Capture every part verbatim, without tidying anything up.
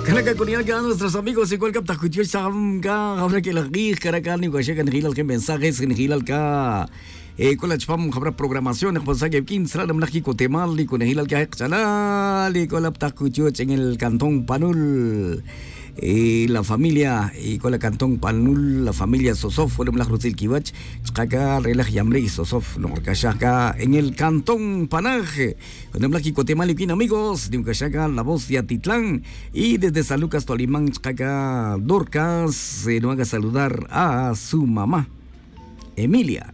Canaca con ya nuestros amigos igual que apta cuchioch sam ca jabra que la guij caraca ni guaxa can jilal que mensajes en jilal ca. Con la chpam jabra programación jpasa que quince la mlaj quicotemal y con jilal que jechalal y con la apta cuchioch en el cantón Panul. La familia y con la cantón Panul la familia Sosof la mlaj rutzil quiwach. Chkaca relaj yamrey Sosof no caxaca en el cantón Panaje. Junem laj quicotemal y quin amigos de un caxaca la voz de Atitlán. Y desde San Lucas Tolimán chkaca Dorcas no haga saludar a su mamá Emilia.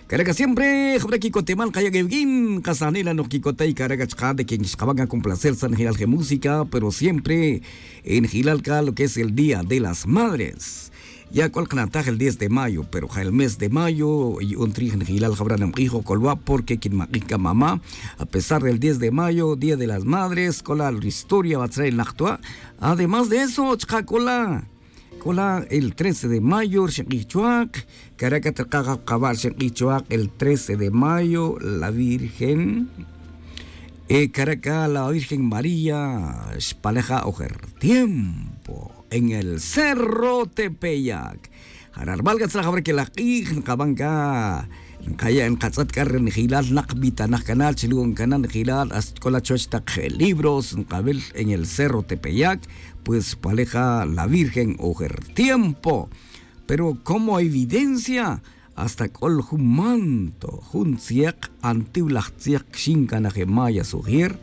Caraca siempre jabra quicotemal kaya queviquin casanela no quicota y caraca chka de quien xkabaca con placer san jilal je música pero siempre en jilal ca lo que es el día de las madres. Ya cual knataj el diez de mayo pero ja el mes de mayo y un trij njilal jabra namk'ijo colwa' porque quin mak'ij ca mamá. A pesar del diez de mayo día de las madres cola la historia batzra el najtwa. Además de eso chka cola cola el trece de mayo rxink'ij chuak. Caraca trkaj jabkaba' rxink'ij chuak el trece de mayo la virgen. Caraca la virgen maría xpaleja ojer tiempo en el cerro tepeyac. Jara' rmal catzra jabra que laj k'ij nkaban ca nkaya' nkatz'at c'a ri njilal nak vitanak canal chi lu'on cana njilal hasta c'o la chuwech tak libros nkawil en el cerro tepeyac. Pues xpaleja la virgen ojer tiempo. Pero como evidencia hasta c'o la jun manto jun tziek antiw laj tziek xin cana je maya sujier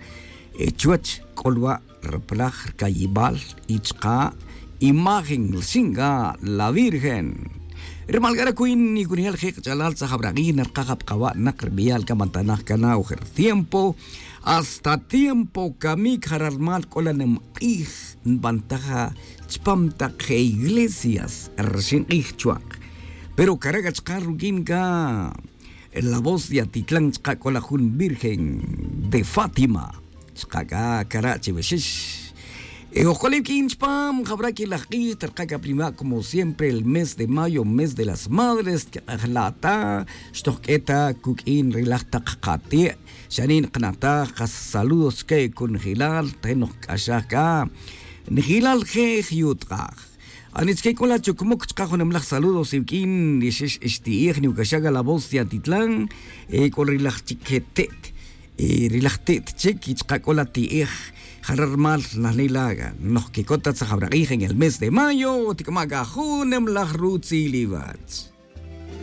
chuwech c'o lwa' rplaj rcayibal y chka' imagen rxin c'a la virgen. Rmal c'a ra cuin y cunejel je' kch'alal tzajab rak'ij narkaj apkaba' nak rbeyal c'a man ta naj cana ojer tiempo. Hasta tiempo camic jara' rmal c'o la nimk'ij nbantaja chpam tak je iglesias rxin k'ij chuak. Pero caraca chka ruquin c'a la voz de atitlan chka c'o la jun virgen de fátima. Chka c'a cara' chiwixix. Ojc'olib quin chpam jabra que laj k'ij tarka' ca prima' como siempre el mes de mayo mes de las madres tquek'ejla' ta xtojq'ue ta cuq'uin ri laj tak kati'. Xanin knataj kas saludos chque conjelal te noj kc'axaj c'a njelal je jyutk'aj. Ani chque c'o la chucmuc chka junem laj saludos iwq'uin ixix ixti'ij niwcaxaj c'a la voz de atitlan. C'o ri laj chic je te't y ri laj te't chic y chka c'o la ti'ij. Jara' rmal najnila' noj quicot ta tzajab rak'ij en el mes de mayo tic'ama' c'a junem laj rutzil iwach.